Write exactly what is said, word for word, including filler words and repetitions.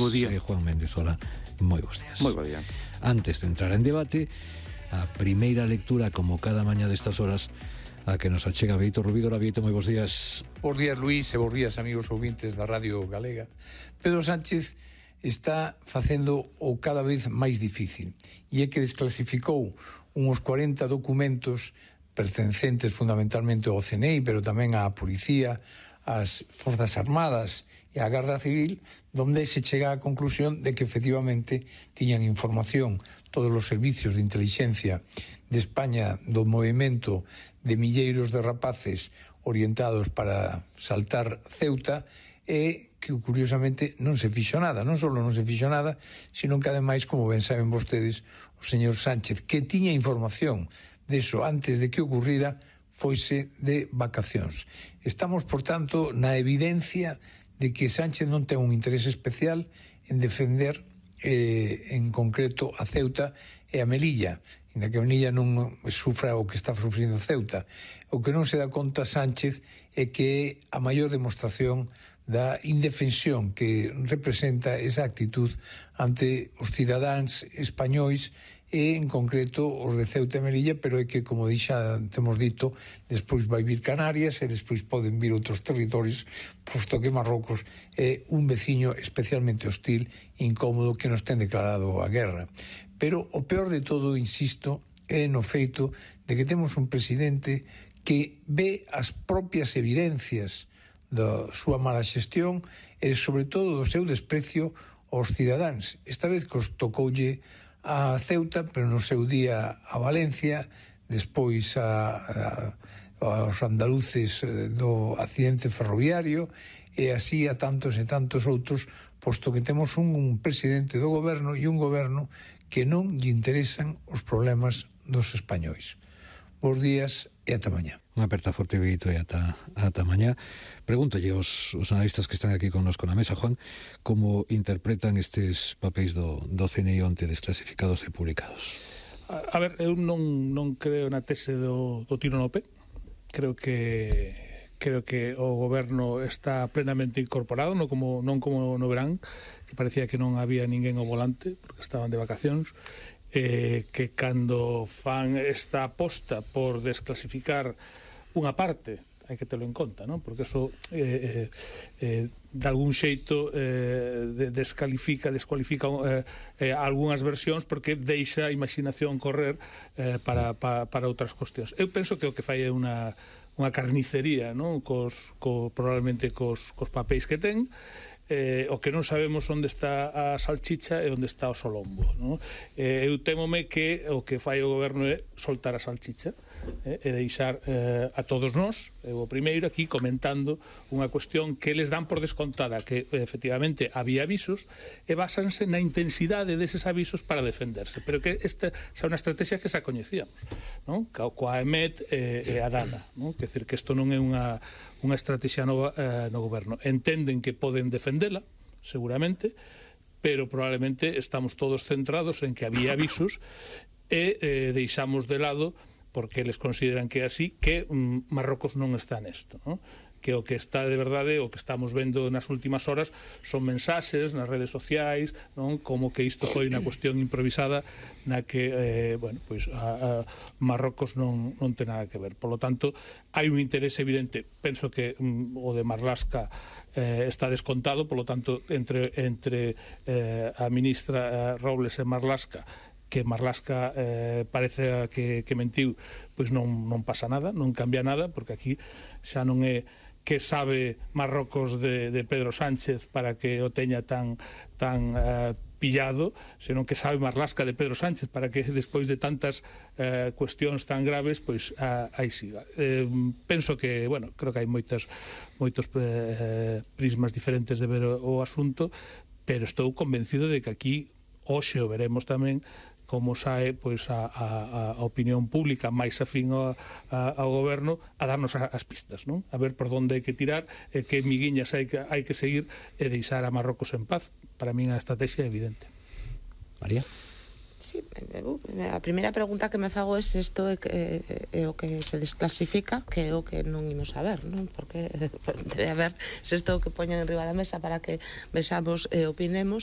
bo día. E Juan Méndez, hola, moi bons días. Moi bo día. Antes de entrar en debate, a primeira lectura, como cada mañá destas horas, a que nos achega Bieito Rubidora. Bieito, moi bons días. Bos días, Luís, e bos días, amigos ouvintes da Radio Galega. Pedro Sánchez está facendo o cada vez máis difícil, e é que desclasificou uns cuarenta documentos pertencentes fundamentalmente ao C N I, pero tamén á Policía, ás Forzas Armadas e á Garda Civil, donde se chega á conclusión de que efectivamente tiñan información todos os servicios de inteligencia de España do movimento de milleiros de rapaces orientados para saltar Ceuta, e que curiosamente non se fixo nada, non só non se fixo nada, sino que ademais, como ben saben vostedes, o señor Sánchez, que tiña información deso antes de que ocurrira, foise de vacacións. Estamos, por tanto, na evidencia de que Sánchez non ten un interés especial en defender eh, en concreto a Ceuta e a Melilla, inda que a Melilla non sufra o que está sufrindo Ceuta. O que non se dá conta Sánchez é que é a maior demostración da indefensión que representa esa actitud ante os cidadáns españois e, en concreto, os de Ceuta e Melilla, pero é que, como xa temos dito, despois vai vir Canarias e despois poden vir outros territorios, posto que Marrocos é un veciño especialmente hostil e incómodo que nos ten declarado a guerra. Pero o peor de todo, insisto, é no feito de que temos un presidente que ve as propias evidencias da súa mala xestión e, sobre todo, do seu desprecio aos cidadáns. Esta vez que os tocoulle a Ceuta, pero no seu día a Valencia, despois a, a, aos andaluces do accidente ferroviario, e así a tantos e tantos outros, posto que temos un, un presidente do goberno e un goberno que non lle interesan os problemas dos españois. Bos días e ata mañá. Unha aperta forte, Bieito, e ata, ata mañá. Pregúntolle aos, os analistas que están aquí connosco na mesa, Juan, como interpretan estes papéis do, do C N I onte desclasificados e publicados? A, a ver, eu non, non creo na tese do, do tiro no pé. Creo que creo que o goberno está plenamente incorporado, non como, non como no verán, que parecía que non había ninguén ao volante, porque estaban de vacacións. Eh, que cando fan esta aposta por desclasificar unha parte, hai que telo en conta, non? Porque eso eh, eh, de algún xeito eh, descalifica, descualifica eh, eh, algunhas versións, porque deixa a imaginación correr eh, para, para, para outras cuestións. Eu penso que o que fai é unha, unha carnicería, non? Cos, co, probablemente cos, cos papéis que ten. Eh, o que non sabemos onde está a salchicha e onde está o solombo, non? Eh, eu temome que o que fai o goberno é soltar a salchicha eh, e deixar eh, a todos nós, eu o primeiro aquí comentando unha cuestión que les dan por descontada, que efectivamente había avisos e basanse na intensidade deses avisos para defenderse, pero que esta xa unha estrategia que xa coñecíamos, non? Coa E M E T e, e a Dana, non? Quer dizer que isto non é unha unha estrategia nova eh, no goberno. Entenden que poden defendela, seguramente, pero probablemente estamos todos centrados en que había avisos e eh, deixamos de lado, porque eles consideran que é así, que mm, Marrocos non está nesto, non? Que o que está de verdade, o que estamos vendo nas últimas horas son mensaxes nas redes sociais, non? Como que isto foi unha cuestión improvisada na que, eh, bueno, pois a, a Marrocos non, non ten nada que ver. Por lo tanto, hai un interés evidente, penso que mm, o de Marlaska eh, está descontado, por lo tanto, entre, entre eh, a ministra eh, Robles e Marlaska, que Marlaska eh, parece que, que mentiu, pois non, non pasa nada, non cambia nada, porque aquí xa non é que sabe Marrocos de, de Pedro Sánchez para que o teña tan, tan eh, pillado, senón que sabe Marlaska de Pedro Sánchez para que despois de tantas eh, cuestións tan graves, pois a, aí siga. Eh, penso que, bueno, creo que hai moitas, moitos eh, prismas diferentes de ver o, o asunto, pero estou convencido de que aquí hoxe o veremos tamén como sae pois a, a, a opinión pública máis afín ao, a, ao goberno a darnos as pistas, non? A ver por onde hai que tirar, e que miguiñas hai que, hai que seguir e deixar a Marrocos en paz. Para min a estrategia é evidente. María? Sí, a primeira pregunta que me fago é se isto é, é, é o que se desclasifica, que é o que non imos saber, non? Porque debe haber se isto é o que poñen en riba da mesa para que vexamos e opinemos,